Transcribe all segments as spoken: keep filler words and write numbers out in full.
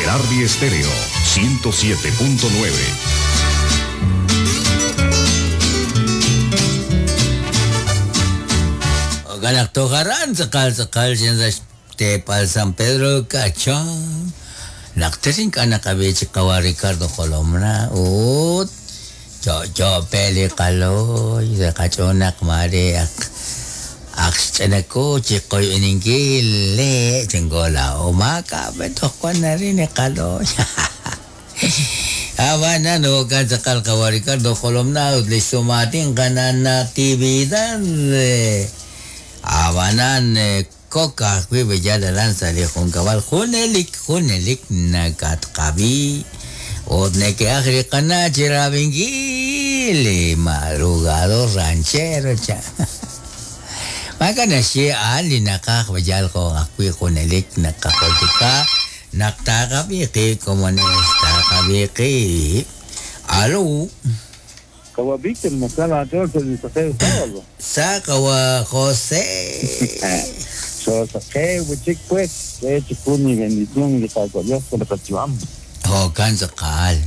Gerardi Estéreo, ciento siete punto nueve. Galaktojaran, tzakal, tzakal, tepal San Pedro Cachón. Naktesin ka nakabichi kawa Ricardo Colomna. Ut, cho cho peli kaloy, kachonak mare ak ak chikoy iningil le chingola umaka beto kwan na rin kaloy. Aba na no kan sakal kawa Ricardo Colomna ut listumatin ka na natividad. Abanan koka kwi bejala lanza li junkabal junelik junelik nakatqabi otneke ajri qana chirabingil madrugado ranchero cha Makana siya ali nakak bejal ko akwi junelik nakakoltika naktakabiki como nesta kabiki. Alo. Kawa Víctor, Mosala, Sa Kawa José. So, que buchik pues, que chikuni bendición de Kawa Dios que lo cachivamos. Oh, cansa cal.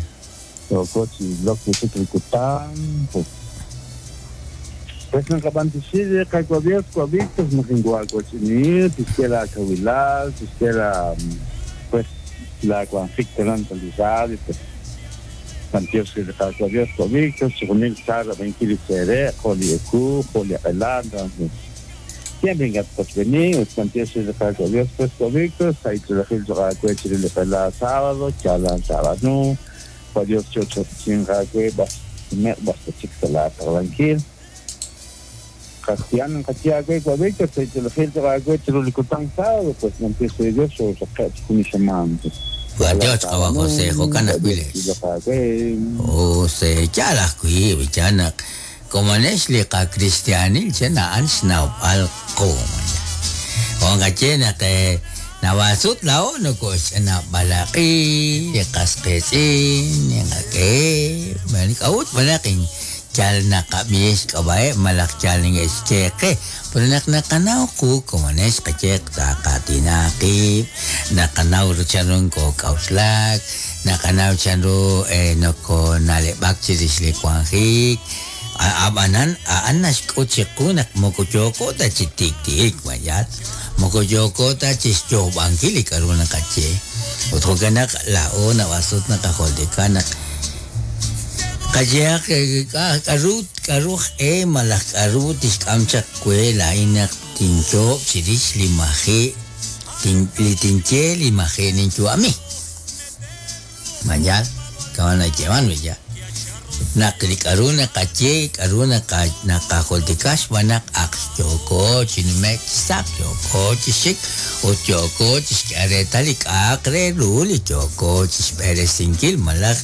So, cochi, lo que se tricutan, pues. Pues no capantishi de Kawa Dios, Kawa Víctor, no tengo algo chinir, tisquera kawilal, tisquera, pues, la cuanfic telantalizada, pues. Santiago de Kawa Dios, Kawa Víctor, según Sara, veintiséis, Joli Ecu, Joli Adelante. Siempre en venir, Santiago de Kawa Dios, pues Kawa Víctor, ahí te la gente va a coche la sábado, chalan sábado, Kawa Dios chocho chinga que va, me basta chica la tranquil. Cristiano Katia que Kawa Víctor, ahí te la gente va a coche lo licutan sábado, pues Santiago de Dios o saca con mi. Dios kawa José Jocana Cuiles. O se chala kui bichana como nesli ka cristianil chena ansna al ko. Onga chena que nawasut lao no ko chena balaki kaskesin nga ke manik out malaking chal na kamies kabae malak chal ng eskeke pero nak nakanaw ko kumanes kachek ta katinaki nakanaw ro chanun ko kauslak nakanaw chanro eh no ko nalebak chirisli kwanhik abanan aanas ko nak mokochoko ta chitiktik mayat mokochoko ta chischobangkili karuna kache otro kanak lao na wasut nakaholdikanak Kayak karut karuh e malak karut iskamchak kuela inak tincho chiris limaje tin litinche limaje ninchu ami. Mayal kawana llevan ya. Nakli karuna kache karuna ka nakaholtikash wanak akchoko chinmek sak choko chishik o choko chishkaretalik akre ruli choko chishbere sinkil malak